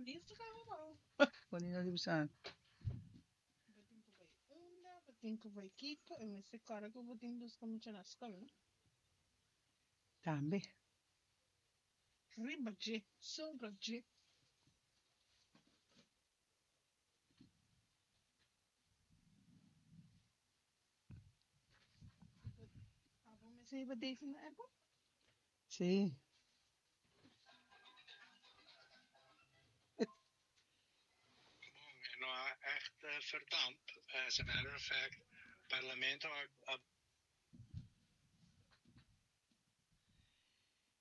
Listo kaba bou. Con di no di bisa. Bo tin ku bai unda, bo tin ku bai kiko, e mester kòrda ku bo tin buska mucha na skol, no? Tambe. Riba dje, sobra dje. Abo mester hiba Daisy na airport? Sí. Bon, e no a echt verdamp. As a matter of fact, Parlamento a.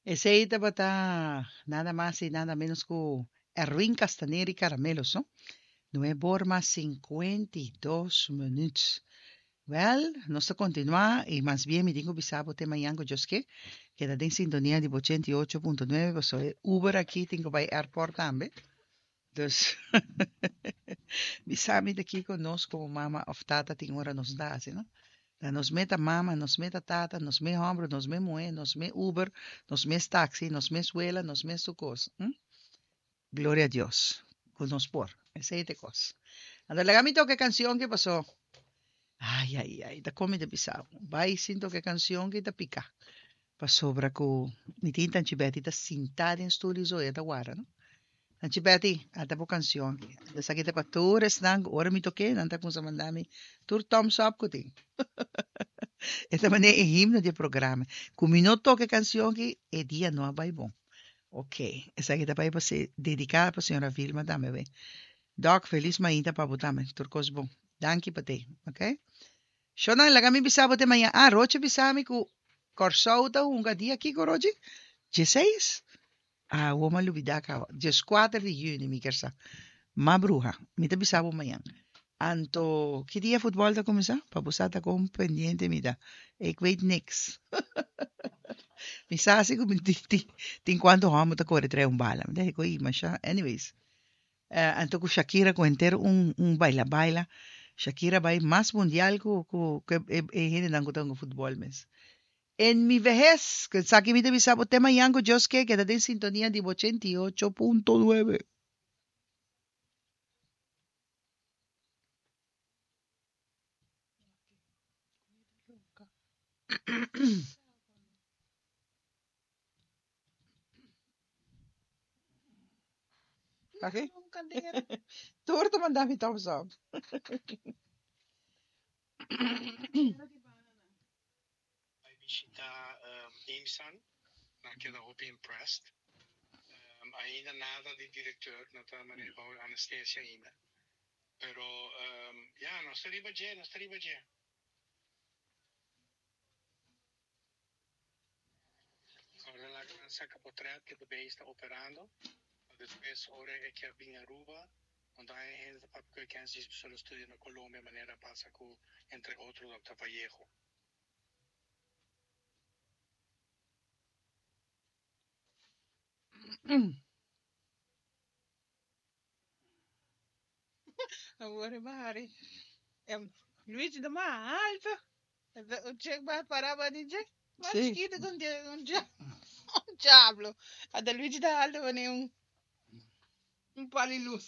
Esey tabata nada mas y nada menos cu Erwin Castaner y Caramelos, no? Nuebe or mas 52 minuut. Wel, nos ta continua y mas bien mi tin cu bisa bo te mañan cu Dios ke. Keda den sintonia di bo 88.9 pasobra e Uber aki tin cu bay airport tambe. Dus, bisa mi ta kico nos como mama of tata tin ora nos ta haci, no? Ta nos mes ta mama, nos mes ta tata, nos mes homber, nos mes muher, nos mes Uber, nos mes taxi, nos mes wela, nos mes tur cos. Hm? Gloria a Dios cu nos por. Esey ta e cos. Anto laga mi toca e cancion ki paso. Ay, ay, ay, ta con mi ta bisa bo. Bay sin toca e cancion ki ta pica. Pasobra cu mi tin Tanchi Betty ta sinta den stoel y zo, e ta warda, no? Tanchi Betty, ata bo cancion aki. Esaki ta pa tur esnan cu ora mi toke, nan ta cuminsa manda mi tur thumbs up cu tin. E ta manera e himno di e programa. Cu mi no toca e cancion aki, e dia no a bay bon. Ok, esaki ta bai pa se dedica pa señora Vilma tambe we. Doc, feliz mainta pa bo tambe. Tur cos bon. Danki pa te, ok? Shonan, laga mi bisa bo te maña. Ah, Rochi bisa mi cu Corsou ta hunga dia kico, Rochi? Dieseis? Ah, awor mi a lubida caba. Diescuater di juni mi kier sa. Ma bruha, mi ta bisa bo mañan. Anto, ki dia futbol ta cuminsa? Pa bo sa ta con pendiente mi ta. Ik weet niks. Mi sa si cu mi tin, tin, tin cuanto homber ta core trae un bala. Mi ta di cu ey masha. Anyways. Eh, anto cu Shakira cu henter un, un baila baila. Shakira bay mas mundial cu, cu, cu e, e hendenan cu ta hunga futbol mes. En mi vehez, cu esaki mi ta bisa bo te mañan cu Dios ke, keda den sintonia di bo 88.9. Oké. Tur ta manda mi thumbs up. Bai bishita IMSAN, nan keda hopi impressed. Ainda nada di directeur, no ta manera bou anestesia ainda. Pero ya, nos ta riba dje, nos ta riba dje. Ora laga nan saca potret cu e beis ta operando, pa despues ora e kier bin Aruba, no ta haña hende ta papia cu e kens djis pasobra lo studia na Colombia manera a pasa cu entre otro Doctor Vallejo. Awor e bahari. Em, Luigi ta mas alto. Un chek ba para ba di dje. Mas Sí. chiquito ku un dia- un dia- un diablo. Ata Luigi ta alto wanneer un un pali luz.